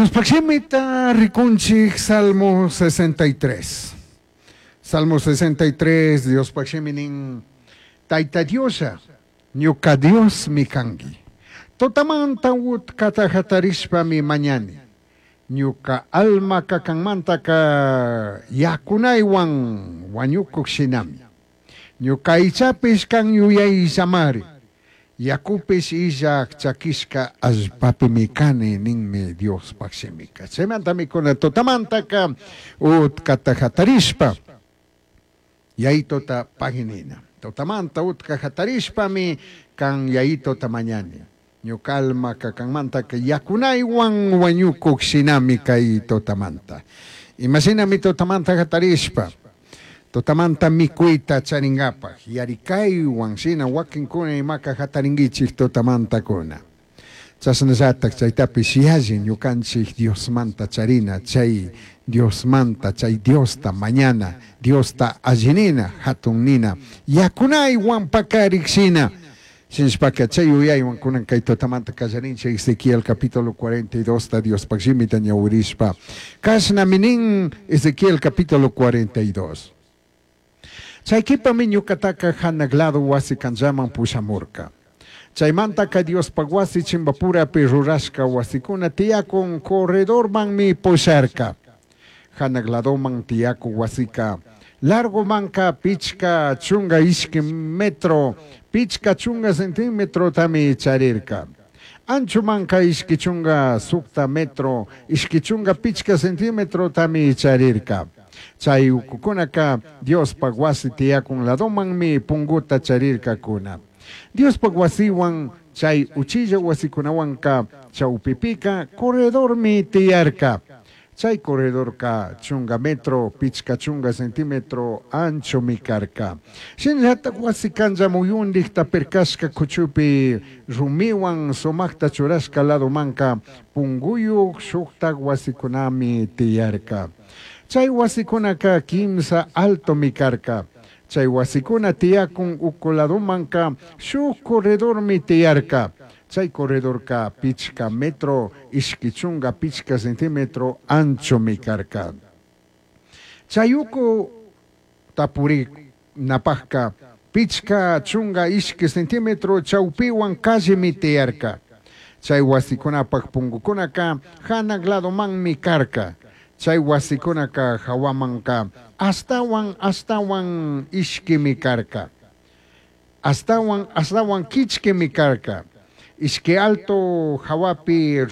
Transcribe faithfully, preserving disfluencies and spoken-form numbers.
Diospaj shimita rikunchik Salmo sesenta y tres. Salmo sesenta y tres, Diospaj shimi nin, Tayta Dioslla, ñuka Diosmi kanki. Tutamanta utkata hatarishpami mañani. Ñuka almaka kanmantaka yakunaywan wañukuk shinami. Ñuka aychapish kan yuyayllamari. Yakupish illak chakishka allpapimi kani ninmi Diospaj shimika. Chaymantami kuna tutamantaka utkata hatarishpa yayituta paginina. Tutamanta utka hatarishpami kan yayituta mañani. Ñuka almaka kanmantaka yakunaywan wañukuk shinami kay tutamanta. Imashinami tutamanta hatarishpa, tutamanta mikuyta charingapaj, yarikaywan shina wakinkuna imaka hatarinkichik tutamantakuna. Chashnallatak chaytapish yalli ñukanchik Diosmanta charina, chay Diosmanta, chay Diosta mañana, Diosta allinina, hatun nina, yakunaywan pakarik shina. Shinashpaka chay yuyaywan kunan kay tutamanta kallarinchik Ezequiel capítulo cuarenta y dos ta Diospaj shimita ñawirishpa. Kashnami nin Ezequiel capítulo cuarenta y dos. Chaykipami ñukataka hanaq lado wasi kanllaman pushamurka. Chaymantaka Diospaj wasi chimbapurapi rurashka wasikuna tiyakun corredormanmi pusharka. Hanaq ladoman tiyakun wasika largomanka pichka chunga ishki metro, pichka chunga centímetro tami charirka. Anchomanka ishki chunga sukta metro, ishki chunga pichka centímetro tami charirka. Chay ukukunaka Diospaj wasi tiyakun ladomanmi punguta charirkakuna. Diospaj wasiwan chay uchilla wasikunawanka chawpipika corredormi tiyarka. Chay corredorka chunga metro, pichka chunga centímetro anchomi karka. Shinallatak wasi kanlla muyundikta pirkashka kuchupi rumiwan sumakta churashka ladomanka punguyuk shuktak wasikunami tiyarka. Chay wasikunaka kimsa altomi karka. Chay wasikuna tiyakun uku ladomanka shuk corredormi tiyarka. Chay corredorka pichka metro, ishki chunga pichka centímetro anchomi karka. Chay uku tapurinapajka pichka chunga ishki centímetro chawpiwan callemi tiyarka. Chay wasikunapaj pungukunaka hanaq ladomanmi karka. Chay wasikunaka hawamanka astawan astawan ishkimi karka. Astawan astawan kichkimi karka. Ishki alto hawapi